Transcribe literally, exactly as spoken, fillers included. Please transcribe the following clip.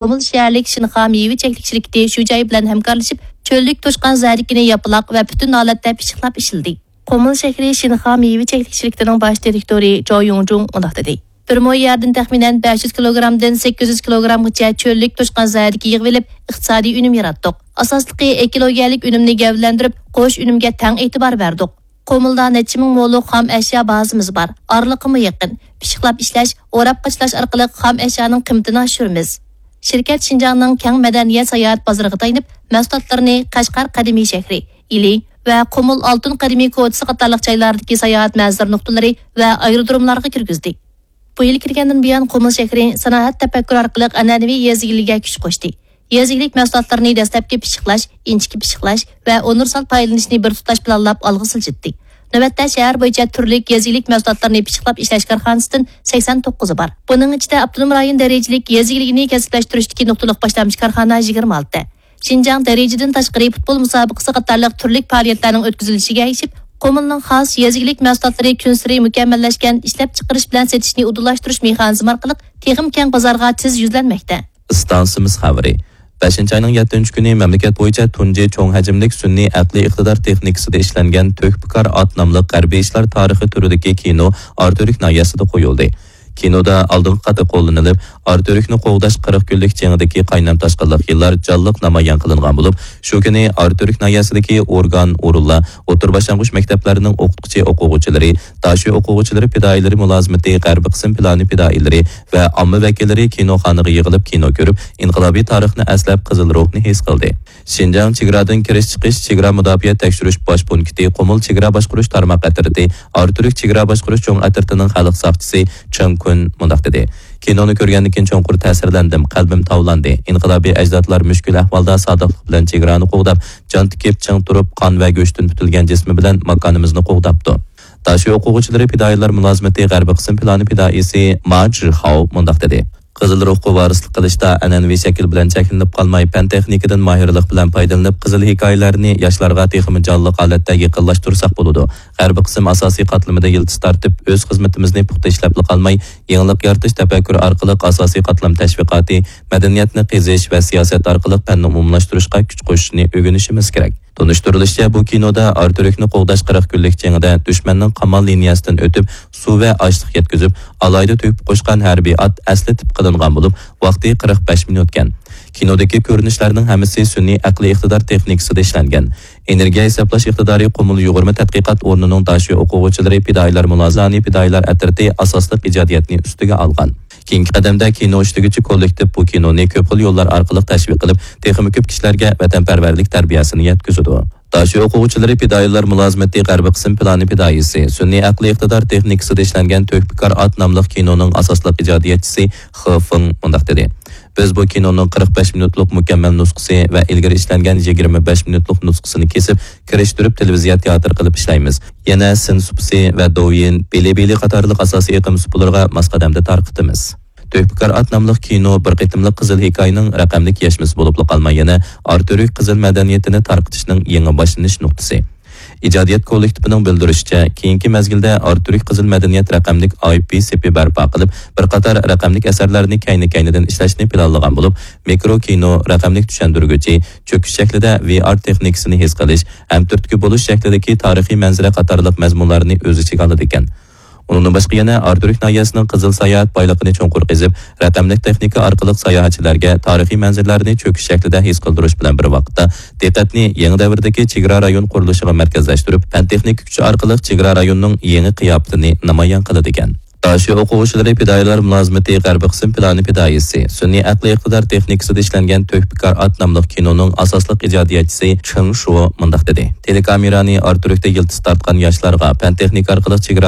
قۇمۇل شەھەرلىك شىنخا مېۋە چەكلىك شىركىتى شۇ جاي بىلەن ھەمكارلىشىپ، چۆللۈك توشقان زەردىكىنى ياپىلاق ۋە پۈتۈن ھالەتتە پىششىقلاپ ئىشلىدى. قۇمۇل شەھىرى شىنخا مېۋە چەكلىك شىركىتىنىڭ باش دىرېكتورى جاۋ يۇڭجۇڭ مۇنداق دېدى: بىر مو يەردىن تەخمىنەن بەش يۈز كىلوگرامدىن سەككىز يۈز كىلوگرامغىچە چۆللۈك توشقان زەردىكى يىغىۋېلىپ، ئىقتىسادىي ئۈنۈم ياراتتۇق. ئاساسلىقى ئېكولوگىيەلىك ئۈنۈمنى گەۋدىلەندۈرۈپ، قوش ئۈنۈمگە تەڭ ئېتىبار بەردۇق. قۇمۇلدا نەچچە مىڭ مولۇق خام ئەشيا بازىمىز بار. ئارىلىقىمۇ يېقىن. پىششىقلاپ ئىشلەش، ئوراپ قاچىلاش ئارقىلىق خام ئەشيانىڭ قىممىتىنى ئاشۇرىمىز. شىركەت شىنجاڭنىڭ كەڭ مەدەنىيەت ساياھەت بازىرىغا تايىنىپ، مەھسۇلاتلىرىنى قەشقەر قەدىمىي شەھىرى، ئىلى ۋە قۇمۇل ئالتۇن قەدىمىي كوچىسى قاتارلىق جايلاردىكى ساياھەت مەنزىرە نۇقتىلىرى ۋە ئايرودروملارغا كىرگۈزدى. بۇ يىل كىرگەندىن بۇيان، قۇمۇل شەھىرى سانائەت تەپەككۇرى ئارقىلىق ئەنئەنىۋى يېزا ئىگىلىكىگە كۈچ قوشتى. يېزا ئىگىلىك مەھسۇلاتلىرىنى دەسلەپكى پىششىقلاش، ئىنچىكە پىششىقلاش ۋە ئۇنىۋېرسال پايدىلىنىشنى بىر تۇتاش پىلانلاپ ئالغا سىلجىتتى. نۆۋەتتە شەھەر بويىچە تۈرلۈك يېزا ئىگىلىك مەھسۇلاتلىرىنى پىششىقلاپ ئىشلەش كارخانىسىدىن سەكسەن توققۇزى بار. بۇنىڭ ئىچىدە ئاپتونوم رايون دەرىجىلىك يېزا ئىگىلىكىنى كەسىپلەشتۈرۈشتىكى نۇقتىلىق باشلامچى كارخانا يىگىرمە ئالتە. شىنجاڭ دەرىجىدىن تاشقىرى پۇتبول مۇسابىقىسى قاتارلىق تۈرلۈك پائالىيەتلەرنىڭ ئۆتكۈزۈلۈشىگە ئەگىشىپ، قۇمۇلنىڭ خاس يېزا ئىگىلىك مەھسۇلاتلىرى كۈنسېرى مۇكەممەللەشكەن ئىشلەپچىقىرىش بىلەن سېتىشنى ئۇدۇللاشتۇرۇش مېخانىزمى ئارقىلىق تېخىمۇ كەڭ بازارغا تېز يۈزلەنمەكتە. ئىستانسىمىز خەۋىرى. بەشىنچى ئاينىڭ يەتتىنچى كۈنى مەملىكەت بويىچە تۇنجى چوڭ ھەجىملىك سۈنئىي ئەقلىي ئىقتىدار تېخنىكىسىدا ئىشلەنگەن تۆھپىكار ئات ناملىق ھەربىي ئىشلار تارىخى تۈرىدىكى كىنو ئارتۈرۈك ناھىيەسىدە قويۇلدى. كىنودا ئالدىنقى قاتتا قوللىنىلىپ، ئارتۈرۈكنى قوغداش قىرىق كۈنلۈك جېڭىدىكى قاينام-تاشقىنلىق يىللار جانلىق نامايان قىلىنغان بولۇپ، شۇ كۈنى ئارتۈرۈك ناھىيەسىدىكى ئورگان، ئورۇنلار، ئوتتۇرا باشلانغۇچ مەكتەپلەرنىڭ ئوقۇتقۇچى-ئوقۇغۇچىلىرى، داشۆ ئوقۇغۇچىلىرى پىدائىيلىرى مۇلازىمىتى غەربىي قىسىم پىلانى پىدائىيلىرى ۋە ئامما ۋەكىللىرى كىنوخانىغا يىغىلىپ كىنو كۆرۈپ، ئىنقىلابىي تارىخنى ئەسلەپ، قىزىل روھنى ھېس قىلدى. شىنجاڭ چېگرادىن كىرىش-چىقىش، چېگرا مۇداپىئە تەكشۈرۈش باش پونكىتى قۇمۇل چېگرا باشقۇرۇش تارماق ئەترىتى ئارتۈرۈك چېگرا باشقۇرۇش چوڭ ئەترىتىنىڭ خەلق ساقچىسى چېڭ كۈن مۇنداق دېدى: كىنونى كۆرگەندىن كېيىن چوڭقۇر تەسىرلەندىم، قەلبىم تاۋلاندى. ئىنقىلابىي ئەجدادلار مۈشكۈل ئەھۋالدا سادىقلىق بىلەن چېگرانى قوغداپ، جان تىكىپ چىڭ تۇرۇپ، قان ۋە گۆشتىن پۈتۈلگەن جىسمى بىلەن ماكانىمىزنى قوغداپتۇ. داشۆ ئوقۇغۇچىلىرى پىدائىيلار مۇلازىمىتى غەربىي قىسىم پىلانى پىدائىيسى ما جىخاۋ مۇنداق دېدى: قىزىل روھقا ۋارىسلىق قىلىشتا ئەنئەنىۋى شەكىل بىلەن چەكلىنىپ قالماي، پەن-تېخنىكىدىن ماھىرلىق بىلەن پايدىلىنىپ، قىزىل ھېكايىلەرنى ياشلارغا تېخىمۇ جانلىق ھالەتتە يېقىنلاشتۇرساق بولىدۇ. غەربىي قىسىم ئاساسىي قاتلىمىدا يىلتىز تارتىپ، ئۆز خىزمىتىمىزنى پۇختا ئىشلەپلا قالماي، يېڭىلىق يارىتىش تەپەككۇرى ئارقىلىق ئاساسىي قاتلام تەشۋىقاتى، مەدەنىيەتنى قېزىش ۋە سىياسەت ئارقىلىق پەننى ئومۇملاشتۇرۇشقا كۈچ قوشۇشنى ئۆگىنىشىمىز كېرەك. تونۇشتۇرۇلۇشىچە، بۇ كىنودا ئارتۈرۈكنى قوغداش قىرىق كۈنلۈك جېڭىدە دۈشمەننىڭ قامال لىنىيەسىدىن ئۆتۈپ، سۇ ۋە ئاشلىق يەتكۈزۈپ، ئالاھىدە تۆھپە قوشقان ھەربىي ئات ئەسلى تىپ قىلىنغان بولۇپ، ۋاقتى قىرىق بەش مىنۇتكەن. كىنودىكى كۆرۈنۈشلەرنىڭ ھەممىسى سۈنئىي ئەقلىي ئىقتىدار تېخنىكىسىدا ئىشلەنگەن. ئېنېرگىيە ھېسابلاش ئىقتىدارى قۇمۇل يۇغۇرما تەتقىقات ئورنىنىڭ داشۆ ئوقۇغۇچىلىرى پىدائىيلار مۇلازىمىتى پىدائىيلار ئەترىتى ئاساسلىق ئىجادىيەتنى ئۈستىگە ئالغان. كېيىنكى قەدەمدە كىنو ئىشلىگۈچى كوللېكتىپ بۇ كىنونى كۆپ خىل يوللار ئارقىلىق تەشۋىق قىلىپ، تېخىمۇ كۆپ كىشىلەرگە ۋەتەنپەرۋەرلىك تەربىيەسىنى يەتكۈزىدۇ. داشۆ ئوقۇغۇچىلىرى پىدائىيلار مۇلازىمىتى غەربىي قىسىم پىلانى پىدائىيسى، سۈنئىي ئەقلىي ئىقتىدار تېخنىكىسىدا ئىشلەنگەن تۆھپىكار ئات ناملىق كىنونىڭ ئاساسلىق ئىجادىيەتچىسى خې فېڭ مۇنداق دېدى: بىز بۇ كىنونىڭ قىرىق بەش مىنۇتلۇق مۇكەممەل نۇسخىسى ۋە ئىلگىرى ئىشلەنگەن يىگىرمە بەش مىنۇتلۇق نۇسخىسىنى كېسىپ، كىرىشتۈرۈپ تېلېۋىزىيە تىياتىر قىلىپ ئىشلەيمىز. يەنە سىن سۇپىسى ۋە دوۋيىن، بىلىبىلى قاتارلىق ئاساسىي ئېقىم سۇپىلىرىغا ماس قەدەمدە تارقىتىمىز. تۆھپىكار ئات ناملىق كىنو بىر قېتىملىق قىزىل ھېكايىنىڭ رەقەملىك يەشمىسى بولۇپلا قالماي، يەنە ئارتۈرۈك قىزىل مەدەنىيىتىنى تارقىتىشنىڭ يېڭى باشلىنىش نۇقتىسى. ئىجادىيەت كوللېكتىپىنىڭ بىلدۈرۈشىچە، كېيىنكى مەزگىلدە ئارتۈرۈك قىزىل مەدەنىيەت رەقەملىك ئاي پى سېپى بەرپا قىلىپ، بىر قاتار رەقەملىك ئەسەرلەرنى كەينى-كەينىدىن ئىشلەشنى پىلانلىغان بولۇپ، مىكرو كىنو، رەقەملىك چۈشەندۈرگۈچى، چۆكۈش شەكلىدە ۋي ئار تېخنىكىسىنى ھېس قىلىش ھەم تۈرتكە بولۇش شەكلىدىكى تارىخىي مەنزىرە قاتارلىق مەزمۇنلارنى ئۆز ئىچىگە ئالىدىكەن. ئۇنىڭدىن باشقا يەنە ئارتۈرۈك ناھىيەسىنىڭ قىزىل ساياھەت بايلىقىنى چوڭقۇر قېزىپ، رەقەملىك تېخنىكا ئارقىلىق ساياھەتچىلەرگە تارىخىي مەنزىرىلەرنى چۆكۈش شەكلىدە ھېس قىلدۇرۇش بىلەن بىر ۋاقىتتا، دىققەتنى يېڭى دەۋردىكى چېگرا رايون قۇرۇلۇشىغا مەركەزلەشتۈرۈپ، پەن-تېخنىكا كۈچى ئارقىلىق چېگرا رايونىنىڭ يېڭى قىياپىتىنى نامايان قىلىدىكەن. داشۆ ئوقۇغۇچىلىرى پىدائىيلار مۇلازىمىتى غەربىي قىسىم پىلانى پىدائىيسى، سۈنئىي ئەقلىي ئىقتىدار تېخنىكىسىدا ئىشلەنگەن تۆھپىكار ئات ناملىق كىنونىڭ ئاساسلىق ئىجادىيەتچىسى چېڭ شۇ مۇنداق دېدى: تېلېكامېرانى ئارتۈرۈكتە يىلتىز تارتقان ياشلارغا پەن-تېخنىكا ئارقىلىق چېگرا